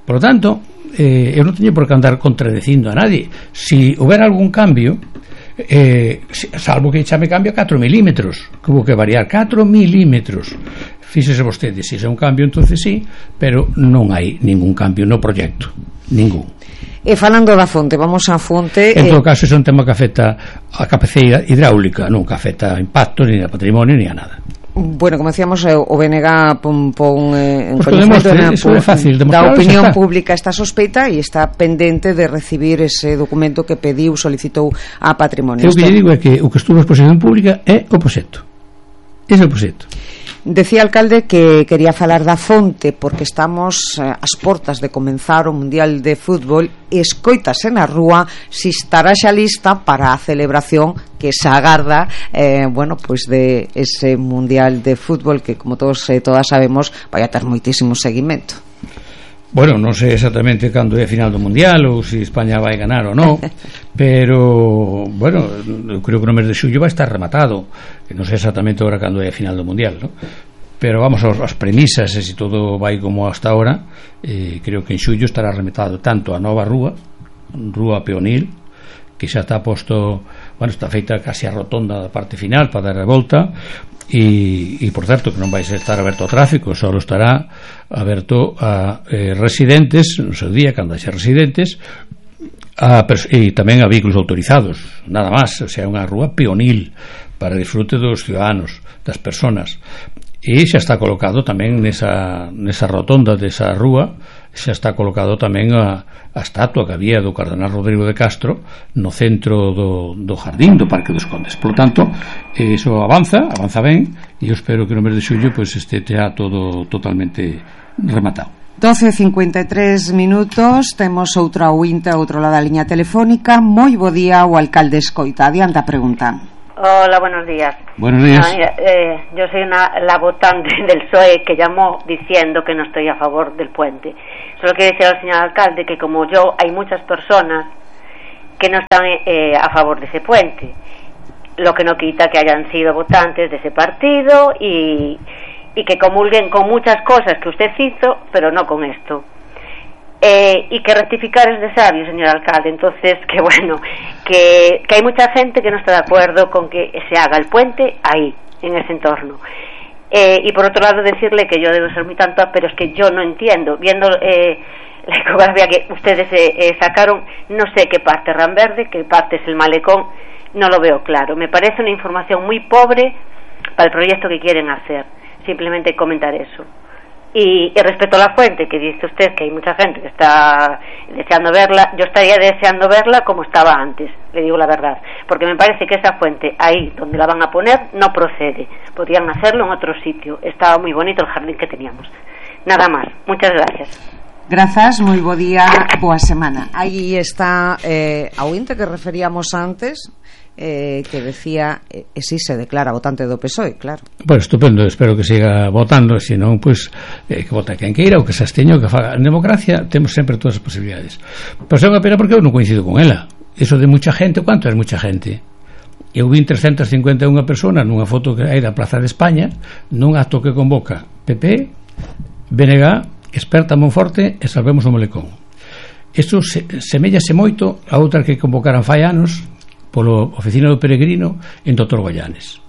Por lo tanto, eu non teño por que andar contradecindo a nadie. Si houbera algún cambio, salvo que xa me cambia 4 milímetros, que hubo que variar 4 milímetros. Fíxese vostede, se é un cambio entonces sí, pero non hai ningún cambio no proxecto, ningún. E falando da fonte, vamos á fonte. En todo caso, é un tema que afecta a capacidade hidráulica, non que afecta a impactos, ni a patrimonio, ni a nada. Bueno, como decíamos, o BNG pon en coñecemento da opinión pública esta sospeita e está pendente de recibir ese documento que pediu, solicitou a patrimonio. O que lle digo é que o que estuvo en exposición pública é o proxecto. Ese é o proxecto. Decía, alcalde, que quería falar da fonte porque estamos ás portas de comenzar o Mundial de Fútbol e escoítase na rúa si estará xa lista para a celebración que se agarda pois de ese Mundial de Fútbol que, como todos e todas sabemos, vai a ter moitísimo seguimento. Bueno, non sei exactamente cando é a final do Mundial ou se España vai ganar ou non, pero, bueno, eu creo que no mes de xullo vai estar rematado, que non sei exactamente agora cando é a final do Mundial, ¿no? Pero vamos aos premisas, e se todo vai como hasta ahora, creo que en xullo estará rematado tanto a nova rúa peonil, que xa está posto, bueno, está feita casi a rotonda da parte final para dar a volta, e por certo que non vai estar aberto ao tráfico, só estará aberto a residentes no seu día, cando haxa residentes, e tamén a vehículos autorizados, nada máis. O sea, unha rúa peonil para disfrute dos ciudadanos, das personas, e xa está colocado tamén nesa rotonda desa rúa, xa está colocado tamén a estatua que había do cardenal Rodrigo de Castro no centro do jardín do Parque dos Condes. Por lo tanto, iso avanza ben, e eu espero que no mes de xullo pues, estea todo totalmente rematado. 12:53 minutos, temos outra oínta outro lado da liña telefónica. Moi bo día, o alcalde escoita. Adiante a pregunta. Hola, buenos días. Buenos días. Mira, yo soy la votante del PSOE que llamó diciendo que no estoy a favor del puente. Solo quiero decir al señor alcalde que, como yo, hay muchas personas que no están a favor de ese puente, lo que no quita que hayan sido votantes de ese partido y que comulguen con muchas cosas que usted hizo, pero no con esto. Y que rectificar es de sabio, señor alcalde. Entonces, que bueno, que hay mucha gente que no está de acuerdo con que se haga el puente ahí, en ese entorno. Y por otro lado decirle que yo debo ser muy tonta, pero es que yo no entiendo, viendo la ecografía que ustedes sacaron, no sé qué parte es Ranverde, qué parte es el malecón, no lo veo claro. Me parece una información muy pobre para el proyecto que quieren hacer. Simplemente comentar eso. Y respecto a la fuente, que dice usted que hay mucha gente que está deseando verla, yo estaría deseando verla como estaba antes, le digo la verdad, porque me parece que esa fuente, ahí donde la van a poner, no procede. Podrían hacerlo en otro sitio. Estaba muy bonito el jardín que teníamos. Nada más. Muchas gracias. Grazas, moi bo día, boa semana. Aí está a ointe que referíamos antes, que decía, si se declara votante do PSOE, claro. Bueno, estupendo, espero que siga votando, se non, pois, que vote quen queira, ou que se absteña, ou que faga. En democracia temos sempre todas as posibilidades. Pero é unha pena porque eu non coincido con ela. Iso de mucha gente, quanto é mucha gente? Eu vi 351 personas nunha foto que hai da Plaza de España, nun acto que convoca PP, BNG, Experta Monforte e Salvemos o Malecón. Isto semellase moito a outra que convocaran fai anos polo Oficina do Peregrino en Dr. Goyanes.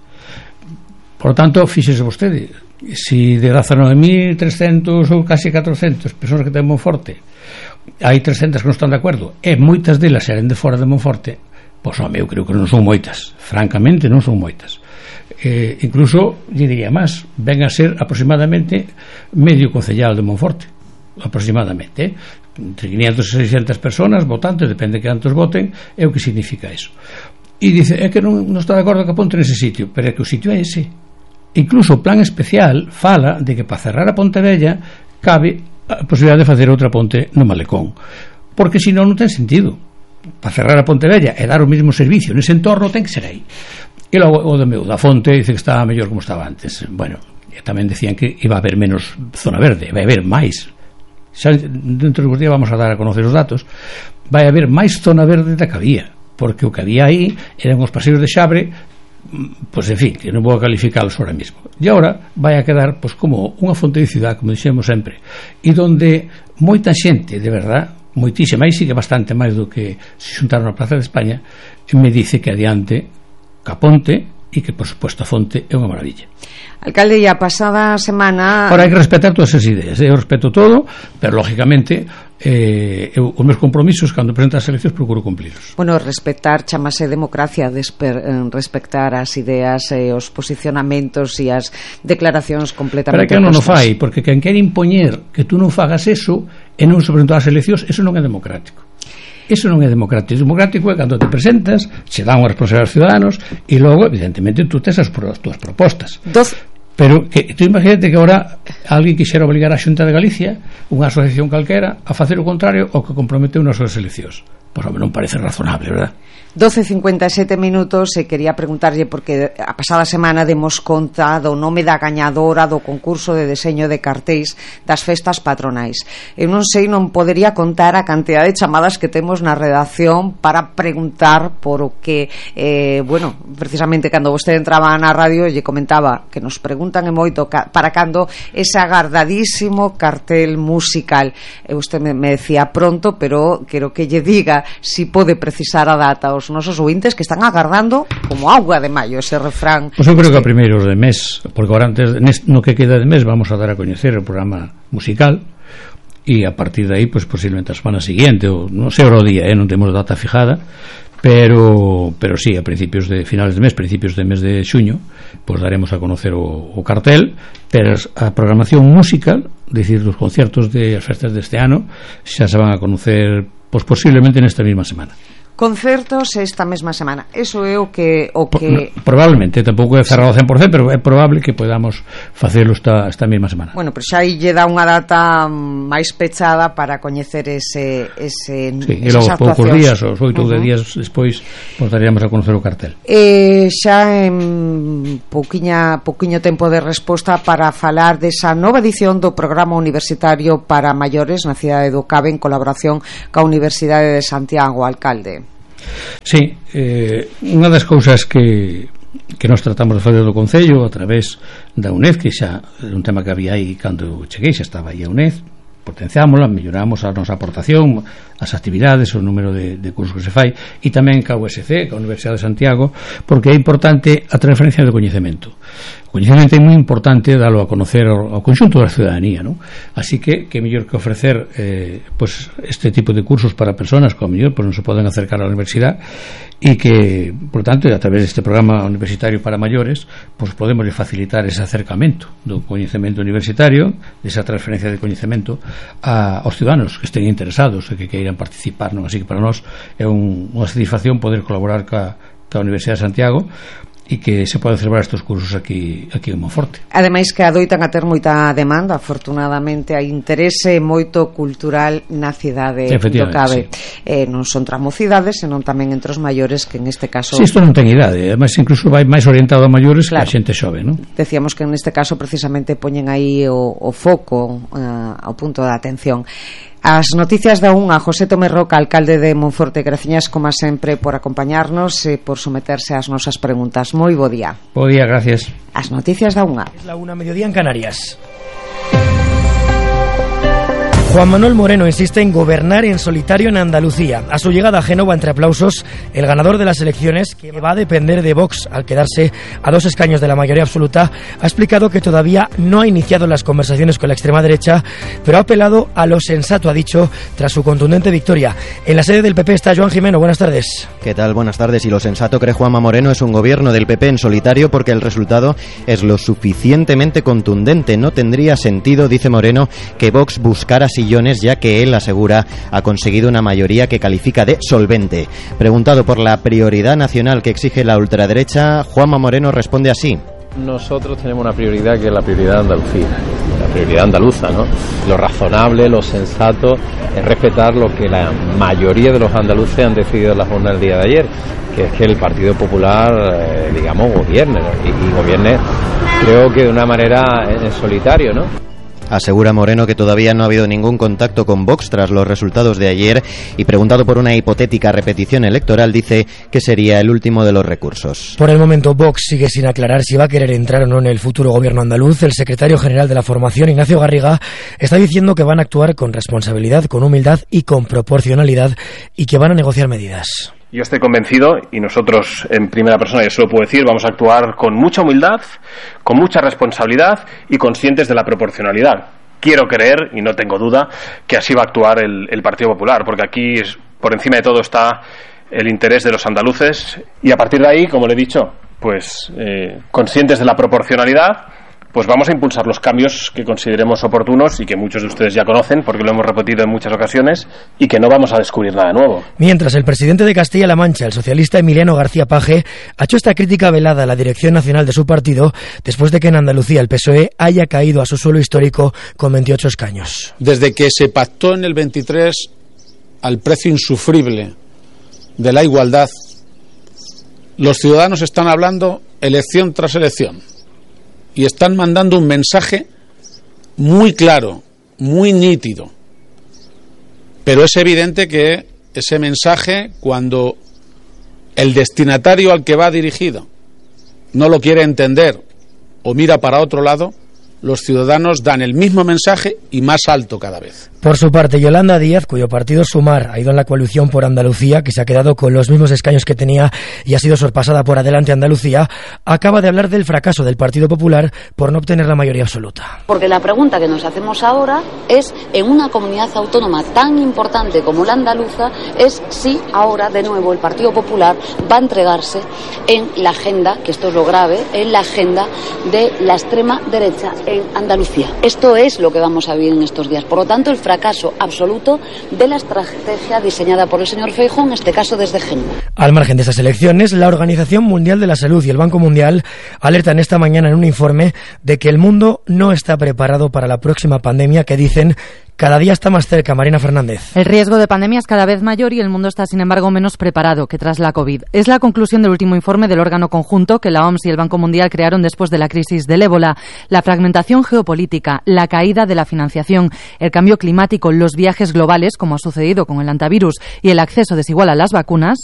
Por tanto, fíxese vostede, si de 19.300 ou casi 400 persoas que ten Monforte hai 300 que non están de acordo e moitas delas eran de fora de Monforte, pois home, eu creo que non son moitas, francamente non son moitas. Incluso, lle diría máis, ven a ser aproximadamente medio concellal de Monforte, aproximadamente, entre 500 e 600 personas votantes, depende de cantos voten, é o que significa eso. E dice, é que non está de acordo que aponte nese sitio, pero é que o sitio é ese. Incluso o plan especial fala de que para cerrar a Pontevella cabe a posibilidade de facer outra ponte no Malecón, porque senón non ten sentido. Para cerrar a Pontevella e dar o mesmo servicio nese entorno ten que ser aí. E logo o de meu da Fonte dice que estaba mellor como estaba antes. Bueno, tamén decían que iba a haber menos zona verde, vai haber máis. Xa dentro dos días vamos a dar a conocer os datos. Vai haber máis zona verde da que había, porque o que había aí eran os paseos de Xabre, pois en fin, que non vou a calificalos ahora mismo. E agora vai a quedar pois como unha fonte de cidade, como dixemos sempre, e donde moita xente, de verdad, moitísima, aí sigue bastante máis do que se xuntaron na Plaza de España, me dice que adiante Caponte e que, por suposto, a fonte é unha maravilla. Alcalde, a pasada semana... Ahora hai que respetar todas as ideas, eu respeto todo, pero, lógicamente, os meus compromisos, cando presento as eleccións, procuro cumplirlos. Bueno, respetar chamase democracia, respectar as ideas, os posicionamentos e as declaracións completamente... Pero que non o fai, porque quen quere impoñer que tú non fagas eso e non se presentar as eleccións, eso non é democrático. Eso non é democrático. Democrático é cando te presentas, se dan unha responsabilidade aos ciudadanos e logo, evidentemente, tú tes as túas propostas. Pero que tú imagínate que agora alguén quixera obligar a Xunta de Galicia, unha asociación calquera, a facer o contrario ao que comprometeu nas súas eleccións. Pois, home, non parece razonable, verdad? 12:57 minutos, e quería preguntarlle porque a pasada semana demos conta do nome da gañadora do concurso de deseño de cartéis das festas patronais. Eu non sei, non podería contar a cantidad de chamadas que temos na redacción para preguntar por o que bueno, precisamente cando vostede entraba na radio lle comentaba que nos preguntan e moito para cando ese agardadísimo cartel musical. Usted me decía pronto, pero quero que lle diga si pode precisar a data os nosos ouvintes que están agardando como auga de maio ese refrán. Pois eu creo que a primeiros de mes, porque agora antes no que queda de mes vamos a dar a coñecer o programa musical e a partir de aí pois posiblemente a semana seguinte ou non sei o día, non temos data fijada, pero sí, a principios de finales de mes, principios de mes de xuño, pois daremos a conocer o cartel, pero a programación musical, decir, dos concertos de as festas deste ano xa se van a conocer pois posiblemente nesta mesma semana. Concertos esta mesma semana. Eso é o que... Probablemente, tampouco é cerrado 100%, pero é probable que podamos facelo esta mesma semana. Bueno, pero xa aí lle dá unha data máis pechada para coñecer sí, e logo poucos días, os 8 ou 10 días despois, pues daríamos a conocer o cartel. Xa en pouquiño tempo de resposta para falar desa nova edición do Programa Universitario para Maiores na cidade do Cave en colaboración ca Universidade de Santiago, alcalde. Sí, unha das cousas que nós tratamos de fazer do Concello a través da UNED, que xa é un tema que había aí cando cheguei, xa estaba aí a UNED, potenciámola, melloramos a nosa aportación, as actividades, o número de cursos que se fai, e tamén ca USC, ca Universidade de Santiago, porque é importante a transferencia do coñecemento. O coñecemento é moi importante dalo a conocer ao conxunto da ciudadanía, non? Así que mellor que ofrecer pues este tipo de cursos para personas que ao mellor pues non se poden acercar á universidade, e que, por tanto, a través deste programa universitario para maiores, pues podemos facilitar ese acercamento do coñecemento universitario, desa transferencia de coñecemento aos ciudadanos que estén interesados e que queiran participar, non? Así que para nós é unha satisfacción poder colaborar ca Universidade de Santiago e que se pode celebrar estes cursos aquí en Monforte. Ademais que adoitan a ter moita demanda, afortunadamente hai interese moito cultural na cidade do Cabe. Sí. Non son tras mocidades, senón tamén entre os maiores, que en este caso... Si, isto non ten idade, ademais incluso vai máis orientado a maiores, claro, que a xente xove, non? Decíamos que en este caso precisamente poñen aí o foco, ao punto de atención. As noticias da unha, José Tomé Roca, alcalde de Monforte. Graciñas, como sempre, por acompañarnos e por someterse ás nosas preguntas. Moi bo día. Bo día, gracias. As noticias da unha. Es la 1, mediodía en Canarias. Juan Manuel Moreno insiste en gobernar en solitario en Andalucía. A su llegada a Génova, entre aplausos, el ganador de las elecciones, que va a depender de Vox al quedarse a 2 escaños de la mayoría absoluta, ha explicado que todavía no ha iniciado las conversaciones con la extrema derecha, pero ha apelado a lo sensato, ha dicho, tras su contundente victoria. En la sede del PP está Joan Jimeno. Buenas tardes. ¿Qué tal? Buenas tardes. Y lo sensato, cree Juanma Moreno, es un gobierno del PP en solitario porque el resultado es lo suficientemente contundente. No tendría sentido, dice Moreno, que Vox buscara sillones, ya que él asegura ha conseguido una mayoría que califica de solvente. Preguntado por la prioridad nacional que exige la ultraderecha, Juanma Moreno responde así. Nosotros tenemos una prioridad que es la prioridad de Andalucía, la prioridad andaluza, ¿no? Lo razonable, lo sensato es respetar lo que la mayoría de los andaluces han decidido en la jornada del día de ayer, que es que el Partido Popular, digamos, gobierne, ¿no? y gobierne, creo que de una manera en solitario, ¿no? Asegura Moreno que todavía no ha habido ningún contacto con Vox tras los resultados de ayer, y preguntado por una hipotética repetición electoral dice que sería el último de los recursos. Por el momento Vox sigue sin aclarar si va a querer entrar o no en el futuro gobierno andaluz. El secretario general de la formación, Ignacio Garriga, está diciendo que van a actuar con responsabilidad, con humildad y con proporcionalidad, y que van a negociar medidas. Yo estoy convencido, y nosotros en primera persona, yo se lo puedo decir, vamos a actuar con mucha humildad, con mucha responsabilidad y conscientes de la proporcionalidad. Quiero creer, y no tengo duda, que así va a actuar el Partido Popular, porque aquí por encima de todo está el interés de los andaluces, y a partir de ahí, como le he dicho, pues conscientes de la proporcionalidad, pues vamos a impulsar los cambios que consideremos oportunos y que muchos de ustedes ya conocen porque lo hemos repetido en muchas ocasiones, y que no vamos a descubrir nada nuevo. Mientras, el presidente de Castilla-La Mancha, el socialista Emiliano García Paje, ha hecho esta crítica velada a la dirección nacional de su partido después de que en Andalucía el PSOE haya caído a su suelo histórico con 28 escaños. Desde que se pactó en el 23 al precio insufrible de la igualdad, los ciudadanos están hablando elección tras elección. Y están mandando un mensaje muy claro, muy nítido. Pero es evidente que ese mensaje, cuando el destinatario al que va dirigido no lo quiere entender o mira para otro lado, los ciudadanos dan el mismo mensaje y más alto cada vez. Por su parte, Yolanda Díaz, cuyo partido Sumar ha ido en la coalición por Andalucía, que se ha quedado con los mismos escaños que tenía y ha sido sorpasada por Adelante Andalucía, acaba de hablar del fracaso del Partido Popular por no obtener la mayoría absoluta. Porque la pregunta que nos hacemos ahora es, en una comunidad autónoma tan importante como la andaluza, es si ahora de nuevo el Partido Popular va a entregarse en la agenda, que esto es lo grave, en la agenda de la extrema derecha en Andalucía. Esto es lo que vamos a vivir en estos días. Por lo tanto, el fracaso absoluto de la estrategia diseñada por el señor Feijóo, en este caso desde Génova. Al margen de estas elecciones, la Organización Mundial de la Salud y el Banco Mundial alertan esta mañana en un informe de que el mundo no está preparado para la próxima pandemia que dicen cada día está más cerca. Marina Fernández. El riesgo de pandemia es cada vez mayor y el mundo está, sin embargo, menos preparado que tras la COVID. Es la conclusión del último informe del órgano conjunto que la OMS y el Banco Mundial crearon después de la crisis del ébola. La fragmentación geopolítica, la caída de la financiación, el cambio climático, los viajes globales, como ha sucedido con el antivirus, y el acceso desigual a las vacunas.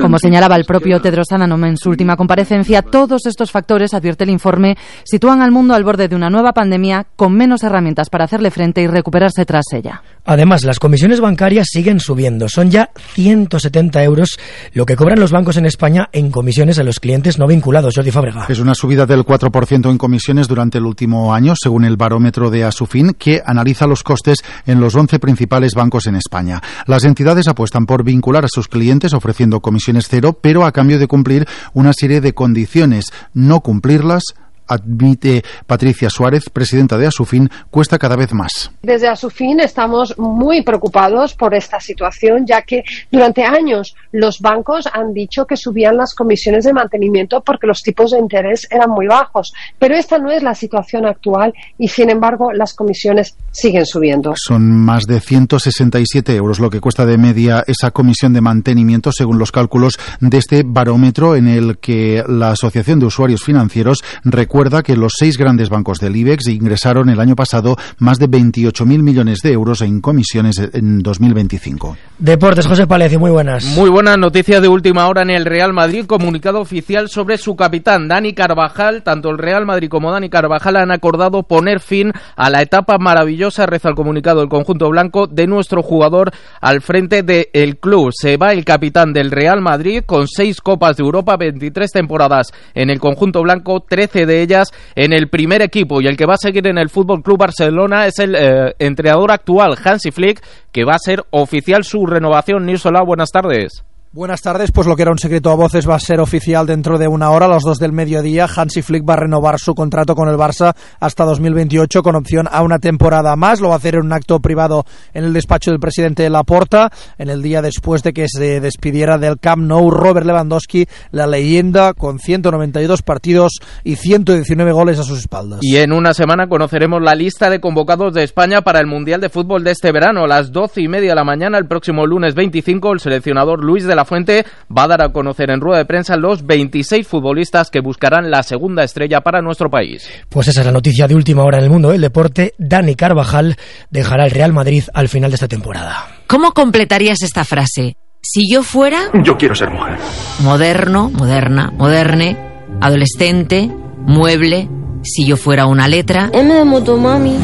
Como señalaba el propio Tedros Adhanom en su última comparecencia, todos estos factores, advierte el informe, sitúan al mundo al borde de una nueva pandemia con menos herramientas para hacerle frente y recuperarse tras ella. Además, las comisiones bancarias siguen subiendo. Son ya 170 euros lo que cobran los bancos en España en comisiones a los clientes no vinculados. Jordi Fábrega. Es una subida del 4% en comisiones durante el último año, según el barómetro de Asufin, que analiza los costes en los 11 principales bancos en España. Las entidades apuestan por vincular a sus clientes ofreciendo comisiones cero, pero a cambio de cumplir una serie de condiciones. No cumplirlas, admite Patricia Suárez, presidenta de Asufin, cuesta cada vez más. Desde Asufin estamos muy preocupados por esta situación, ya que durante años los bancos han dicho que subían las comisiones de mantenimiento porque los tipos de interés eran muy bajos. Pero esta no es la situación actual y, sin embargo, las comisiones siguen subiendo. Son más de 167 euros lo que cuesta de media esa comisión de mantenimiento, según los cálculos de este barómetro, en el que la Asociación de Usuarios Financieros recuerda que los 6 grandes bancos del IBEX ingresaron el año pasado más de 28.000 millones de euros en comisiones en 2025. Deportes, José Palecio, muy buenas. Muy buenas noticias de última hora en el Real Madrid. Comunicado oficial sobre su capitán, Dani Carvajal. Tanto el Real Madrid como Dani Carvajal han acordado poner fin a la etapa maravillosa, reza el comunicado del conjunto blanco, de nuestro jugador al frente del club. Se va el capitán del Real Madrid con 6 Copas de Europa, 23 temporadas en el conjunto blanco, 13 de ellas en el primer equipo, y el que va a seguir en el Fútbol Club Barcelona es el entrenador actual, Hansi Flick, que va a ser oficial su renovación. Nirsola, buenas tardes. Buenas tardes, pues lo que era un secreto a voces va a ser oficial dentro de una hora, a las 2 del mediodía. Hansi Flick va a renovar su contrato con el Barça hasta 2028 con opción a una temporada más. Lo va a hacer en un acto privado en el despacho del presidente Laporta, en el día después de que se despidiera del Camp Nou Robert Lewandowski, la leyenda, con 192 partidos y 119 goles a sus espaldas. Y en una semana conoceremos la lista de convocados de España para el Mundial de Fútbol de este verano. A las 12:30 de la mañana, el próximo lunes 25, el seleccionador Luis de la Fuente va a dar a conocer en rueda de prensa los 26 futbolistas que buscarán la segunda estrella para nuestro país. Pues esa es la noticia de última hora en el mundo del deporte. Dani Carvajal dejará el Real Madrid al final de esta temporada. ¿Cómo completarías esta frase? Si yo fuera... Yo quiero ser mujer. Moderno, moderna, moderne, adolescente, mueble. Si yo fuera una letra... M de motomami.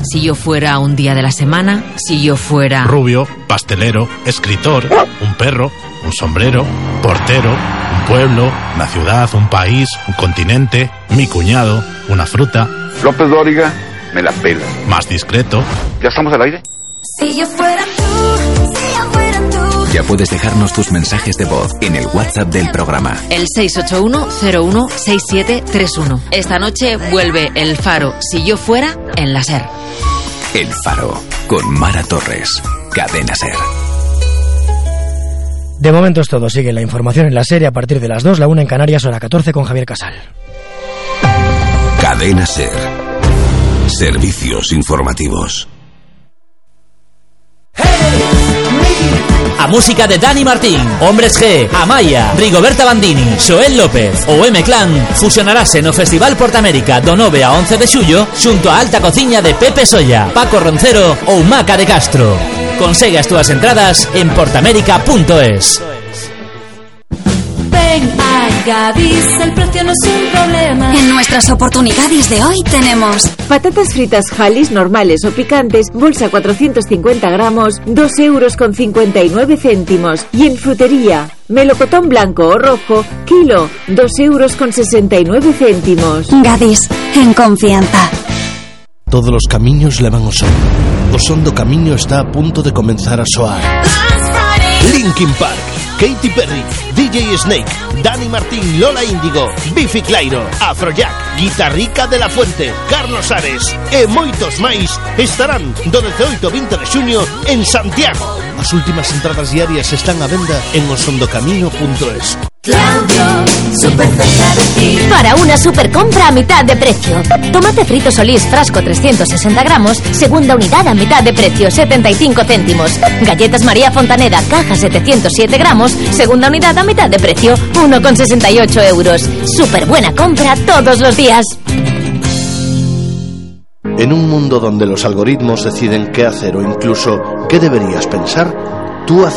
Si yo fuera un día de la semana, si yo fuera... Rubio, pastelero, escritor, un perro, un sombrero, portero, un pueblo, una ciudad, un país, un continente, mi cuñado, una fruta. López Dóriga, me la pela. Más discreto. ¿Ya estamos al aire? Si yo fuera tú, si yo fuera tú. Ya puedes dejarnos tus mensajes de voz en el WhatsApp del programa. El 681-016731. Esta noche vuelve El Faro, si yo fuera, en la SER. El Faro, con Mara Torres. Cadena SER. De momento es todo. Sigue la información en la serie a partir de las 2, la 1 en Canarias, hora 14 con Javier Casal. Cadena SER. Servicios informativos. A música de Dani Martín, Hombres G, Amaya, Rigoberta Bandini, Xoel López o M-Clan fusionarase no Festival Portamérica do 9 a 11 de xullo xunto a alta cociña de Pepe Solla, Paco Roncero ou Maca de Castro. Consegue as túas entradas en portamérica.es. Ven a Gadis, el precio no es un problema. En nuestras oportunidades de hoy tenemos patatas fritas Halis normales o picantes, bolsa 450 gramos, 2,59 €. Y en frutería, melocotón blanco o rojo, kilo, 2,69 €. Gadis, en confianza. Todos los camiños levan ao sol. O son do camiño está a punto de comenzar a soar. Linkin Park, Katy Perry, DJ Snake, Dani Martín, Lola Índigo, Bifi Clyro, Afrojack, Guitarrica de la Fuente, Carlos Ares e moitos máis estarán do 18 ao 20 de xuño en Santiago. As últimas entradas diarias están á venda en osondocamiño.es. Claudio, súper cerca de ti. Para una super compra a mitad de precio. Tomate frito Solís, frasco 360 gramos, segunda unidad a mitad de precio, 75 céntimos. Galletas María Fontaneda, caja 707 gramos, segunda unidad a mitad de precio, 1,68 €. Súper buena compra todos los días. En un mundo donde los algoritmos deciden qué hacer o incluso qué deberías pensar, tú